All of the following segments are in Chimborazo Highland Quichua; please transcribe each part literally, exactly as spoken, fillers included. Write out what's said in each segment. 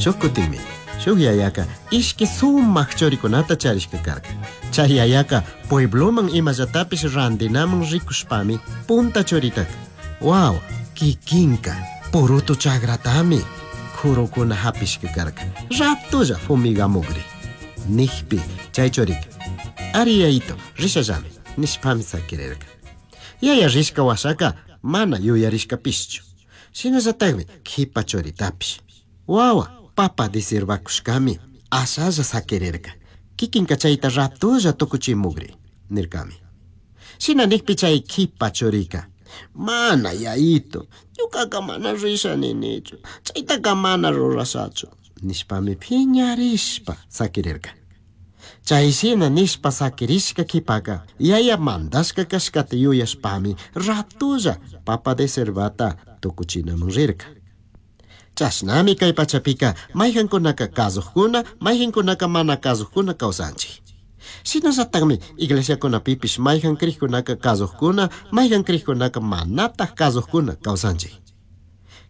Shuj kutinmi shuj yayaka ishki sumak churikunata charishka karka. Chay yayaka puebloman imallatapish randinaman rikushpami punta churitaka wawa kikinka purutu chagratami kurukuna hapishka karka ratulla fumigamugri nijpi chay churika ari yayito rishallami nishpami sakirirka. Yaya rishka washaka mana yuyarishkapishchu. Shinallatakmi kipa churitapish wawa papa disirbakushkami ashalla sakirirka kikinka chayta ratulla tukuchimugri nirkami. Shina nikpi chay kipa churika mana yayito ñukaka mana risha ninichu chaytaka mana rurashachu nishpami piñarishpa sakirirka. Chay shina nishpa sakirishka kipaka yaya mandashka kashkata yuyashpami ratulla papa deserbata tukuchinaman rirka. Chashnami kay pachapika mayqankunaka kasuqkuna mayqankunaka mana kasuqkuna kawsanchik. Shinallatakmi iglesiakunapipish mayqan kriqkunaka kasuqkuna mayqan kriqkunaka manataq kasuqkuna kawsanchik.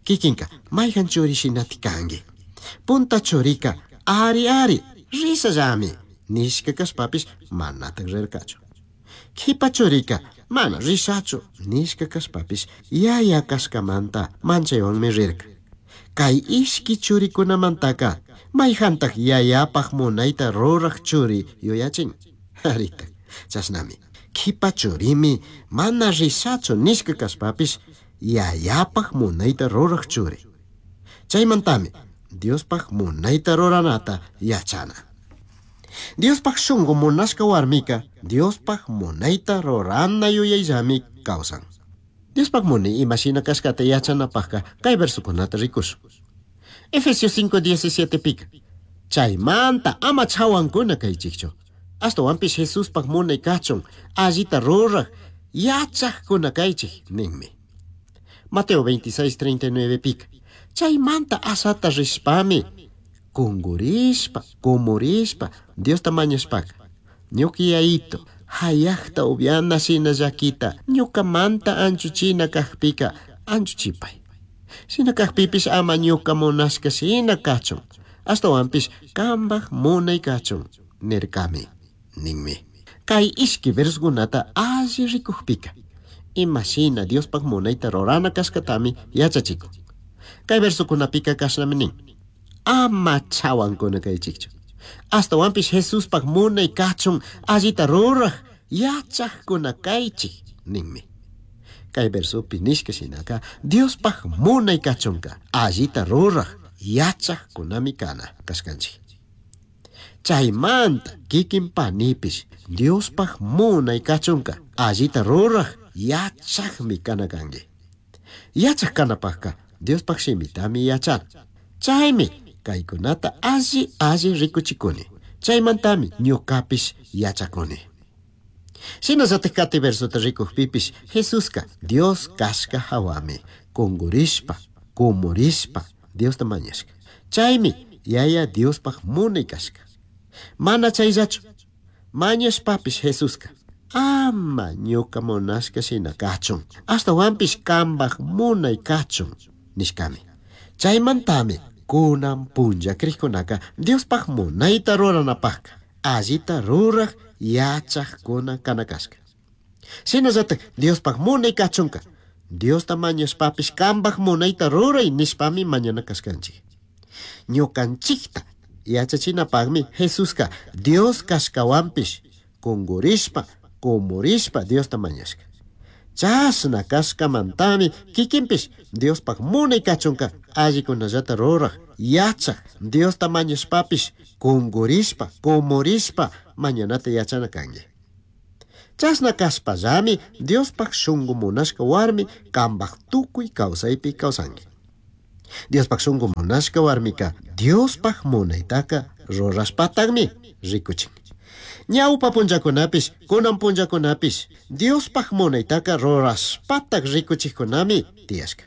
Kikinka mayqan churi shinati kanki. Punta churika ari ari rishallami nishka kashpapish manataq rirkachu. Kipa churika mana rishachu nishka kashpapish yaya kashkamanta manchaywanmi rirka. Kay ishki churikunamantaka mayqantaq yayapaq munayta ruraq churi yuyachin. Aritaq chashnami kipa churimi mana rishachu nishka kashpapish yayapaq munayta ruraq churi. Chaymantami Diospaq munayta ruranata yachana. Diospaq shunqu munashka warmika Diospaq munayta rurana yuyayllami kawsan. Diospaq munay imashina kashkata yachanapaqka kay versukunata rikushun. Efesios cinco diecisiete pika. Chaymanta ama chawankuna kaychikchu. Ashtawanpish Jesuspaq munay kachun allita ruraq yachaqkuna kaychik ninmi. Mateo veintiséis treinta y nueve pika. Chaymanta asata rishpami kungurishpa kumurishpa Diosta mañashpaka ñuka yayito hayaqta upyana shina llakita ñukamanta anchuchina kaqpika anchuchipay. Shina kaqpipish ama ñuka munashka shina kachun ashtawanpish kanpaq munay kachun nirkami ninmi. Kay ishki versukunata alli rikukpika imashina Diospaq munayta rurana kashkatami yachachikun. Kay versukunapika kashnami nin ama chawankuna kaychikchu. Ashtawanpish Jesuspaq munay kachun allita ruraq yachaqkuna kaychik ninmi. Kay versupi nishka shinaka Diospaq munay kachunka allita ruraq yachaqkunami kana kashkanchik. Chaymanta kikin panipish Diospaq munay kachunka allita ruraq yachaqmi kana kanki. Yachaq kanapaqka Diospaq shimitami yachana. Chaymi kaykunata alli alli rikuchikuni. Chaymantami ñukapish yachakuni. Shinallatak kati versuta rikukpipish Jesuska Dios kashka hawami kungurishpa kumurishpa Diosta mañashka. Chaymi yaya Diospaq munay kashka. Mana chayllachu mañashpapish Jesuska ama ñuka munashka shina kachun ashtawanpish kanpaq munay kachun nishkami. Chaymantami kunan punlla kriqkunaka Diospaq munayta ruranapaqka allita ruraq yachaqkuna kana kashka. Shinallatak Diospaq munay kachunka Diosta mañashpapish kanpaq munayta ruray nishpami mañana kashkanchik. Ñukanchikta yachachinapaqmi Jesuska Dios kashkawanpish kungurishpa kumurishpa Diosta mañashka. Chashna kashkamantami kikinpish Diospaq munay kachunka allikunallata ruraq yachaq Diosta mañashpapish kungurishpa kumurishpa mañanata yachana kanki. Chashna kashpallami Diospaq shunqu munashka warmi kanpaq tukuy kawsaypi kawsanki. Diospaq shunqu munashka warmika Diospaq munaytaka rurashpataqmi rikuchin. Ñawpa punllakunapish kunan punllakunapish Diospaq munaytaka rurashpataq rikuchikkunami tiyashka.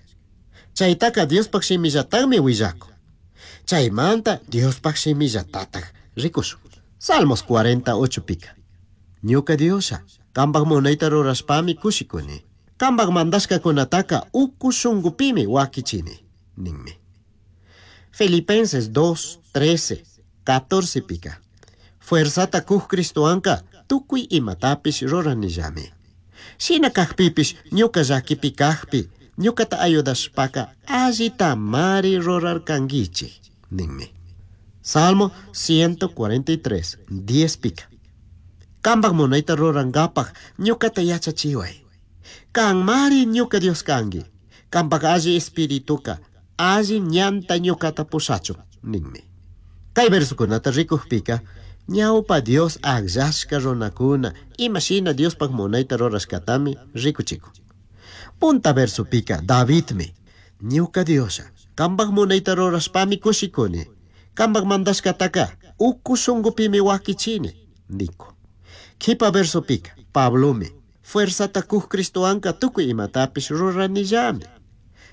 Chaytaka Diospaq shimillataqmi willakun. Chaymanta Diospaq shimillatataq rikushun. Salmos cuarenta ocho pika. Ñuka Diosha kanpaq munayta rurashpami kushikuni. Kanpaq mandashkakunataka uku shunqupimi wakichini ninmi. Filipenses dos, trece, catorce pica. Fuerzata kuj Cristoanka tukuy imatapish ruranillami. Shina kajpipish ñuka llakipi kajpi ñukata ayudashpaka allitamari rurarkankichik ninmi. Salmo ciento cuarenta y tres, diez pica. Kambaj munayta rurankapaj ñukata yachachiway. Kanmari ñuka Dios kanki. Kambaj alli espirituka alli ñanta ñukata pushachun ninmi. Kay versokunata rikujpika ñawpa Dios akllashka runakuna imashina Diospaj munayta rurashkatami rikuchikun. Punta versopika Davidmi ñuka Diosha kambaj munayta rurashpami kushikuni. Kambaj mandashkataka uku shunqupimi wakichini nikun. Kipa versopika Pablomi fuerzata kuj Cristoanka tukuy imatapish ruranillami.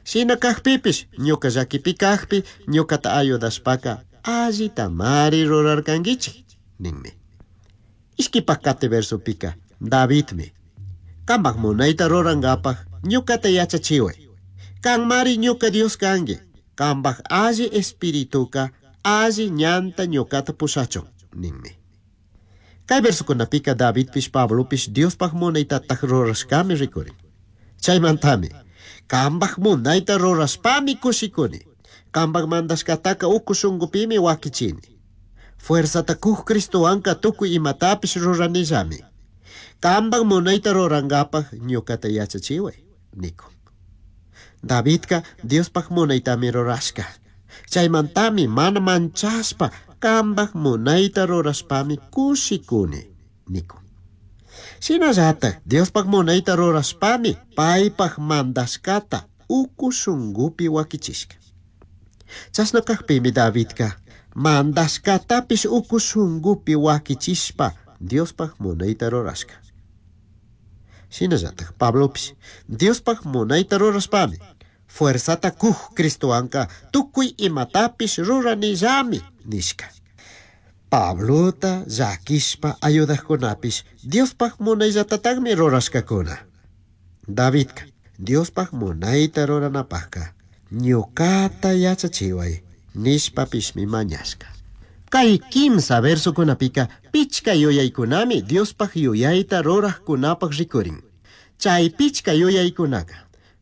Shina kajpipish ñuka llakipi kajpi ñukata ayudashpaka allitamari rurarkankichik ninmi. Ishkipaj kati versopika Davidmi kambaj munayta rurankapaj ñukata yachachiway. Kanmari ñuka Dios kanki. Kambaj alli espirituka alli ñanta ñukata pushachun ninmi. Kay versokunapika Davidpish Pablopish Diospaj munaytataj rurashkami rikurin. Chaymantami kambaj munayta rurashpami kushikuni. Kambaj mandashkataka uku shunqupimi wakichini. Fuerzata kuj Cristowanka tukuy imatapish ruranillami. Kambaj munayta rurankapaj ñukata yachachiway nikun. Davidka Diospaj munaytami rurashka. Chaymantami mana manchashpa kambaj munayta rurashpami kushikuni nikun. Shinallataj Diospaj munayta rurashpami paypaj mandashkata uku shunqupi wakichishka. Chashna kajpimi Davidka mandashkatapish uku shunqupi wakichishpa Diospaj munayta rurashka. Shinallataj Pablopish Diospaj munayta rurashpami fuerzata kuj Cristowanka tukuy imatapish ruranillami nishka. Pablota llakishpa ayudajkunapish Diospaj munayllatatajmi rurashkakuna. Davidka Diospaj munayta ruranapajka ñukata yachachiway nishpapishmi mañashka. Kay kimsa versokunapika pichka yuyaykunami Diospaj yuyayta rurajkunapaj rikurin. Chay pichka yuyaykunaka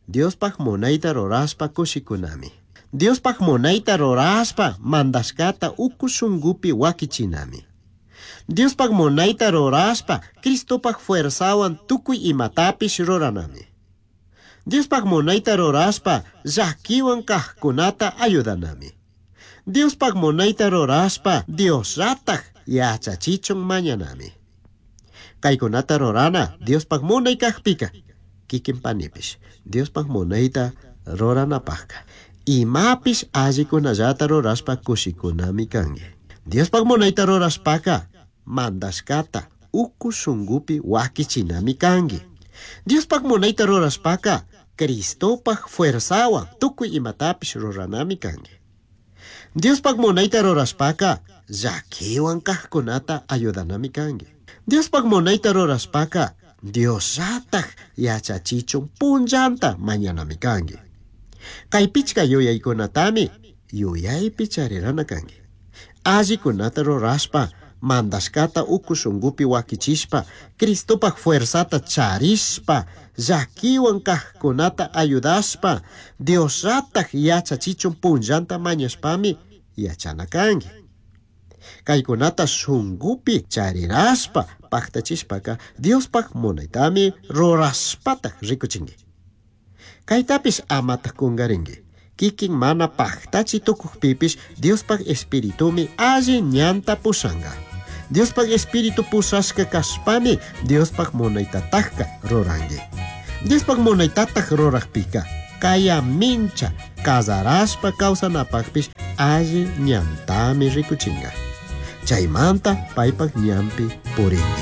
Diospaj munayta rurashpa kushikunami. Diospaj munayta rurashpa mandashkata uku shunqupi wakichinami. Diospaj munayta rurashpa Cristopaj fuerzawan tukuy imatapish ruranami. Diospaj munayta rurashpa llakiwan kajkunata ayudanami. Diospaj munayta rurashpa Diosllataj yachachichun mañanami. Kaykunata rurana Diospaj munay kajpika kikin panipish Diospaj munayta ruranapajka imapish allikunallata rurashpa kushikunami kanki. Diospaj munayta rurashpaka mandashkata uku shunqupi wakichinami kanki. Diospaj munayta rurashpaka Cristopaj fuerzawan tukuy imatapish ruranami kanki. Diospaj munayta rurashpaka llakiwan kajkunata ayudanami kanki. Diospaj munayta rurashpaka Diosllataj yachachichun punllanta mañanami kanki. Kay pichka yuyaykunatami yuyaypi charirana kanki. Allikunata rurashpa mandashkata uku shunqupi wakichishpa Cristopaj fuerzata charishpa llakiwan kajkunata ayudashpa Diosllataj yachachichun punllanta mañashpami yachana kanki. Kaykunata shunqupi charirashpa paktachishpaka Diospaj munaytami rurashpataj rikuchinki. Kaytapish amataj kunkarinki. Kikin mana paktachi tukujpipish Diospaj espiritumi alli ñanta pushanka. Diospaj espíritu pushashka kashpami Diospaj munaytatajka ruranki. Diospaj munaytataj rurajpika kaya mincha kazarashpa kawsanapajpish alli ñantami rikuchinka. Chaymanta paypaj ñanpi purinki.